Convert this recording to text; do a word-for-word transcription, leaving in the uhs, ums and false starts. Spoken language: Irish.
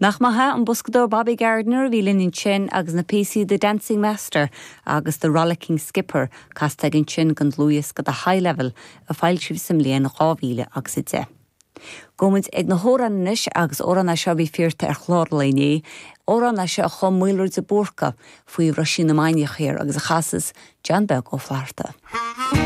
Nach maith an boscadóir Bobby Gardiner a bhí linn ansin agus na píosaí The Dancing Master agus The Rollicking Skipper casta ansin den dlúthdhiosca The High Level a foilsíodh sa mbliain dhá mhíle agus a deich. Gabhfaimid ag na hamhráin anois agus amhrán é seo a bhí fíorta ar chlár léné, amhrán é seo a chum Maolra de Búrca faoi Roisín na Mainiach Thiar agus a chasas John Beag Ó Flatharta.